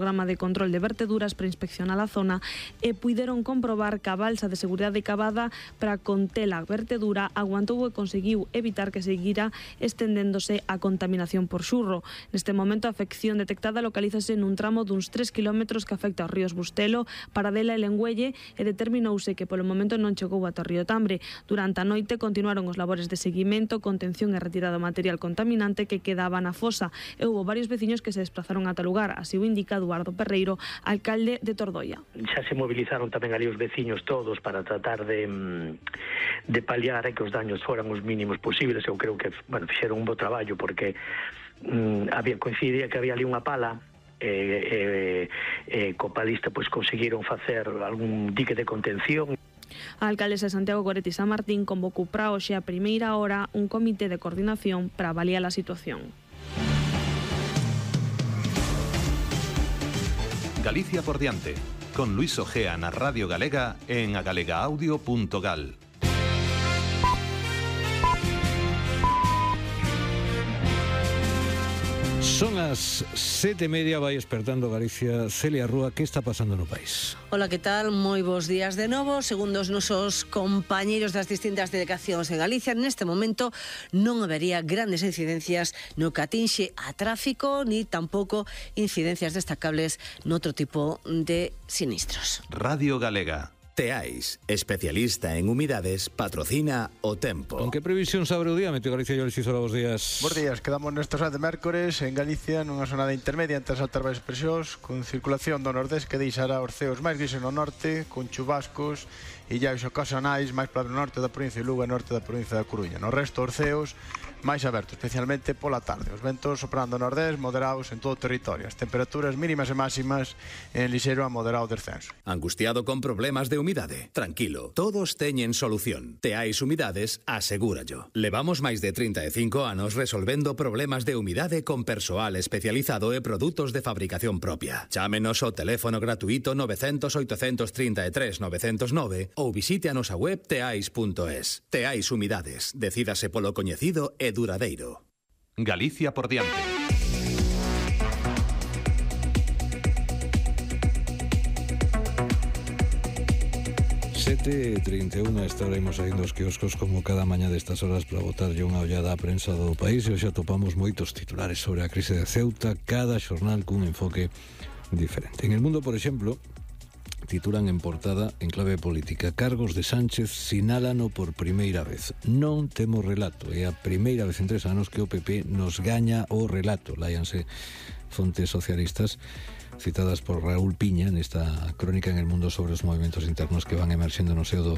programa de control de verteduras para inspeccionar a zona e puideron comprobar que a balsa de seguridade cavada para conter a vertedura aguantou e conseguiu evitar que seguira estendéndose a contaminación por xurro. Neste momento a afección detectada localízase nun tramo duns 3 km que afecta aos ríos Bustelo, Paradela e Lengüelle e determinouse que polo momento non chegou ata o río Tambre. Durante a noite continuaron os labores de seguimento, contención e retirada do material contaminante que quedaba na fosa e houve varios veciños que se desplazaron ata o lugar, así o indica Eduardo Perreiro, alcalde de Tordoia. Xa se movilizaron tamén ali os veciños todos para tratar de paliar que os daños foran os mínimos posibles. Eu creo que fixeron un bo traballo porque coincidía que había ali unha pala copalista conseguiron facer algún dique de contención. A alcaldesa de Santiago Goretti San Martín convocou para hoxe a primeira hora un comité de coordinación para avaliar a situación. Galicia por diante, con Luis Ojea na Radio Galega en agalegaaudio.gal. Son as 7:30, vai despertando Galicia. Celia Rúa, que está pasando no país? Hola, que tal? Moi bons días de novo. Segundo os nosos compañeiros das distintas delegacións en Galicia, neste momento non habería grandes incidencias no que atinxe a tráfico, ni tampouco incidencias destacables noutro tipo de sinistros. Radio Galega. Teais, especialista en humidades, patrocina o tempo. Con que previsión abre o día, Meteo Galicia? Yo les hizo los días. Bos días, quedamos nestos de mércores en Galicia nunha zonada intermedia entre as altas baixas presións, con circulación do nordés que deixará os ceos máis grises no norte, con chubascos e illas ocasionais máis para o norte da provincia de Lugo e norte da provincia da Coruña. No resto, os ceos máis abertos, especialmente pola tarde. Os ventos soprando nordés moderados en todo o territorio. As temperaturas mínimas e máximas en lixeiro a moderado descenso. Angustiado con problemas de humidade? Tranquilo, todos teñen solución. Teais Humidades asegúrallo. Levamos máis de 35 anos resolvendo problemas de humidade con persoal especializado e produtos de fabricación propia. Chámenos ao teléfono gratuito 900 833 909 ou visite a nosa web teais.es. Teais Humidades. Decídase polo coñecido e duradeiro. Galicia por diante. ...7:31, esta hora imos saindo os quioscos como cada mañá destas horas para botarlle unha ollada á prensa do país e hoxe atopamos moitos titulares sobre a crise de Ceuta, cada xornal cun enfoque diferente. En El Mundo, por exemplo, titulan en portada en clave política: cargos de Sánchez sinálano por primeira vez. Non temos relato, é a primeira vez en 3 anos que o PP nos gaña o relato. Láianse fontes socialistas citadas por Raúl Piña nesta crónica en El Mundo sobre os movimentos internos que van emerxendo no seo do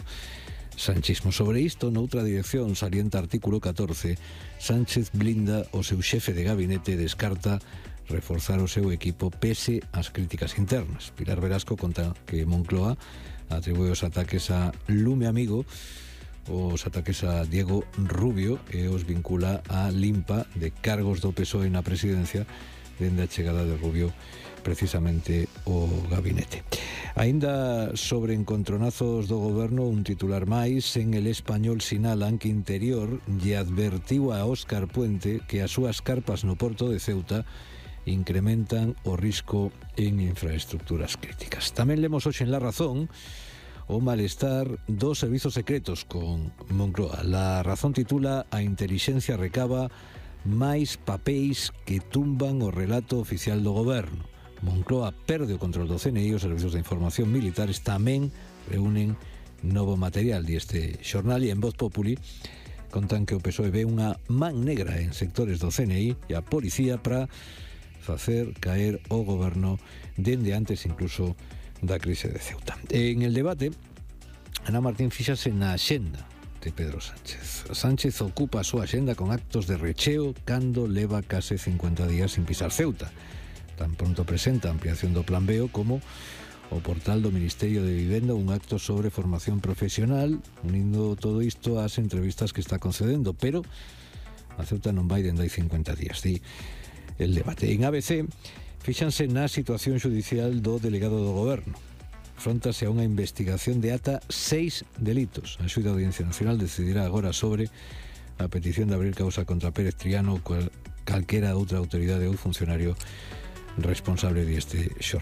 sanchismo. Sobre isto, noutra dirección, salienta artículo 14, Sánchez blinda o seu xefe de gabinete e descarta reforzar o seu equipo pese ás críticas internas. Pilar Velasco conta que Moncloa atribúe os ataques a Lume Amigo, os ataques a Diego Rubio, e os vincula a limpa de cargos do PSOE na presidencia dende a chegada de Rubio precisamente o gabinete. Aínda sobre encontronazos do goberno, un titular máis. En El Español sinalan que Interior lle advertiu a Óscar Puente que as súas carpas no porto de Ceuta incrementan o risco en infraestructuras críticas. Tamén lemos hoxe en La Razón o malestar dos servizos secretos con Moncloa. La Razón titula: a intelixencia recaba máis papéis que tumban o relato oficial do goberno. Moncloa perde o control do CNI e os servizos de información militares tamén reúnen novo material. E este xornal, e en Voz Populi, contan que o PSOE ve unha man negra en sectores do CNI e a policía para facer caer o goberno dende antes incluso da crise de Ceuta. En El Debate, Ana Martín fíxase na axenda de Pedro Sánchez. Sánchez ocupa a súa axenda con actos de recheo cando leva case 50 días sin pisar Ceuta. Tan pronto presenta a ampliación do Plan B como o portal do Ministerio de Vivenda, un acto sobre formación profesional, unindo todo isto ás entrevistas que está concedendo, pero a Ceuta non vai dende hai 50 días, di El Debate. En ABC, fíxanse na situación judicial do delegado do goberno. Fróntase a unha investigación de ata 6 delitos. A Xuíza da Audiencia Nacional decidirá agora sobre a petición de abrir causa contra Pérez Triano ou calquera outra autoridade ou funcionario responsable deste xornal.